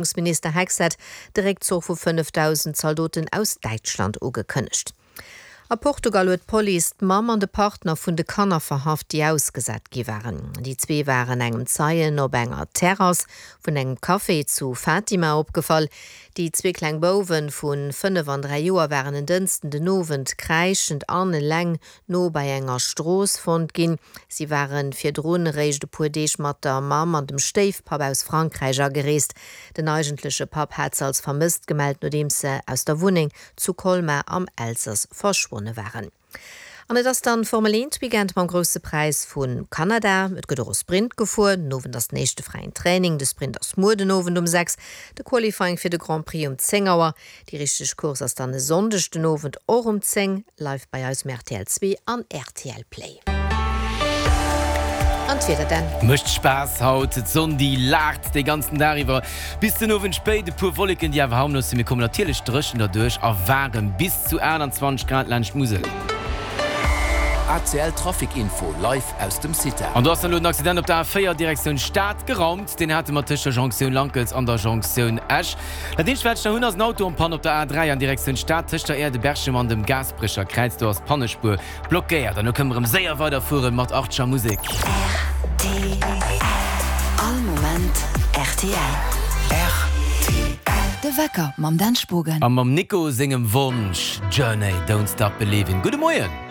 Verdeedegungsminister Hegseth de Réckzuch vu 5.000 Zaldoten aus Däitschland ugekënnegt. A Portugal huet d'Police d'Mamm an de Partner vun de Kanner verhaft, déi ausgesat gi waren. Déi zwee waren engem Zeien op enger Terrass vun engem Café zu Fatima opgefall. Déi zwee kleng Bouwe vu 5 an 3 Joer waren en Dënsten den Owend kräischend an eleng no bei enger Strooss fonnt ginn. Si ware virdrun eréischt e puer Deeg mat der Mamm an dem Stéifpapp aus Frankräich agereest. Den eigentleche Papp hat se als vermësst gemellt, nodeems se aus der Wunneng zu Colmar am Elsass verschwonne waren. An et ass dann Formel 1 Weekend mam Grousse Präis vu Kanada. Et gëtt och e Sprint gefuer. Den Owend ass den éischte fräien Training. De Sprint ass muer den Owend um 6, de Qualifying fir de Grand Prix um 10 Auer. Déi richteg Course ass dann e Sonndeg den Owend och um 10, live bei eis um rtl 2 an rtl Play. An d'Wieder dann? Mécht Spaass haut, d'Sonn déi laacht dee ganzen Dag iwwer bis den Owend spéit. E puer Wolleken déi awer harmlos sinn. Mir kommen natierlech dréchen derduerch a waarem bis zu 28 Grad laanscht d'Musel. ACL Trafic Info live aus dem CITA. An do ass dann elo den Accident op der A4 Direktioun Stad geraumt. Deen hate mer tëscht der Jonktioun Lankels an der Jonktioun Esch. Dat eenzegt wat ech nach hunn ass en Auto en panne op der A3 an Direktioun Stad tëscht der Aire de Berchem an dem Gaasperecher Kräiz. Do ass d'Pannespuer blockéiert. An elo kënne mer erëm séier weider fueren mat Archer Musek. Rtl, All Moment rtl. Rtl. De Wecker mam Dan Spogen. A mam Nico sengem Wonsch, Journey, Don't Stop Believin'. Gudde Moien!